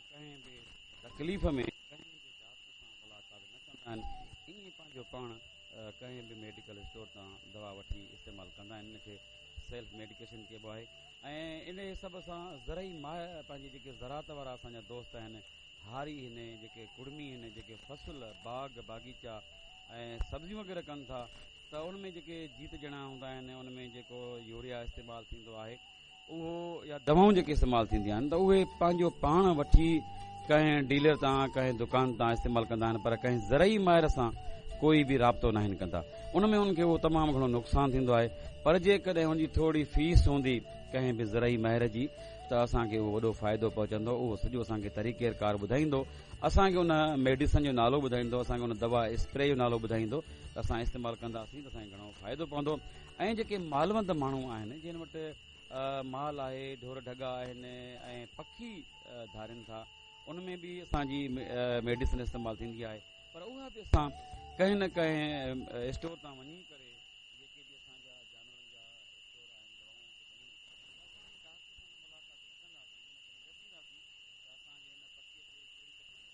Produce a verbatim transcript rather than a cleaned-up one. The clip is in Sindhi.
ڪنهن به تڪليف ۾ ڪنهن به ڊاڪٽر سان ملاقات نه ڪندا آهن، ائين پنهنجو پاڻ ڪنهن به ميڊيڪل اسٽور تان دوا وٺي استعمال ڪندا آهن. ان کي سيلف ميڊيڪيشن چئبو آهي. ۽ ان حساب سان زرعي ماهر پنهنجي جيڪي زراعت وارا اسان جا دوست آهن، هاري آهن، جيڪي ڪڙمي آهن، جيڪي فصل باغ باغيچا ۽ سبزيون وغيره ڪن ٿا ته ان ۾ جيڪي جيت جڻا هوندا آهن، ان ۾ جيڪو يوريا استعمال ٿيندو آهي اهو يا دوائون جيڪي استعمال ٿينديون آهن ته اهي پنهنجو پاڻ وٺي ڪنهن ڊيلر تان ڪنهن دڪان تان استعمال ڪندا آهن، پر ڪنهن زرعي ماهر سان ڪوئي به رابطو ناهن ڪندا. ان ۾ انهن کي اهو تمام گهڻو نقصان ٿيندو آهي، پر جيڪڏهن ان جي ٿوري فيس هوندي ڪنهن به زرعي ماهر جي ته اسان کي اهو وڏو فائدو پهچندو. اهو سڄو اسان کي طريقي ڪار ٻڌائيندو، اسان کي ان ميڊيسن جو نالو ٻڌائيندو، اسان کي ان دوا اسپري جو نالو ٻڌائيندو ته اسان استعمال ڪنداسين ته اسان کي گهڻو فائدو پوندو. ۽ جيڪي مالوند ماڻهو آهن، جن وٽ مال آهي، ڍور ڍڳا آهن ۽ پکي ڌارين ٿا، ان ۾ به اسان جي ميڊيسن استعمال ٿيندي آهي، پر اها به اسان ڪنهن نه ڪنهن اسٽور تان وڃي ڪري